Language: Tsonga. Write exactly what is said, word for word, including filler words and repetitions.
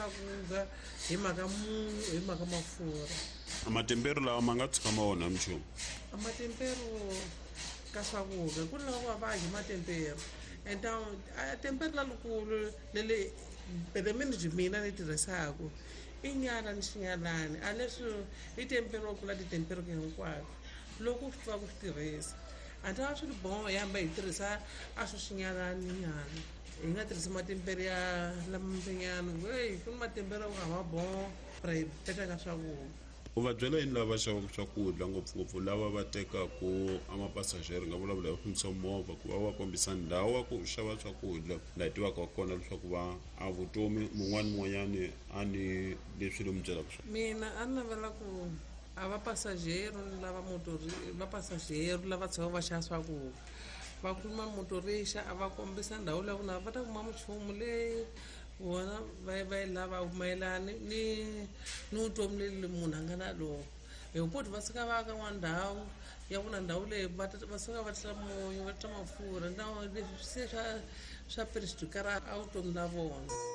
swakudya hi mhaka munyu hi mhaka mafurha. Matemperu lawa ma nga tshuka ma onha minchumu? A matemperu ka swakudya ku ni lava va hi matemperu and a temperu lalukulu lele pelemini mina ni tirhisaku i nyala ni xinyalani a leswi i tempero ku la titemperu hinkwato loko swi tiva ku swi tirhisa a ta va swi ri boho hi hamba hi tirhisa a swo xinyalani nyana hi nga tirhisi matempere ya lamambenyana ey ku ni matempere ku hava boho ra hi petaka swakudya. U va byela yini lava xavaka swakudya ngopfungopfu lava va tekaku a mapasajeri nga vulavula hi fambisa movha ku va va kombisa ndhawu ya ku xava swakudya laha hi tivaka kona leswaku va a vutomi mun'wani mun'wanyani a ni leswi lomu byelaka swona? Mina a ni navela ku a va pasajero lava motori va pasajero lava tshamaka va xava swakudya va khuluma motorixa a va kombisa ndhawu leyi ku na va ta kuma minchumu leyi vona va va yi lavaka mayelana ni ni vutomi leli munhu a nga na lona hi ku va suka va ka n'wana ndhawu ya ku na ndhawu leyi va va suka va tisa munyu va tisa mafurha na leswi se swa swa perishikara a vutomi la vona.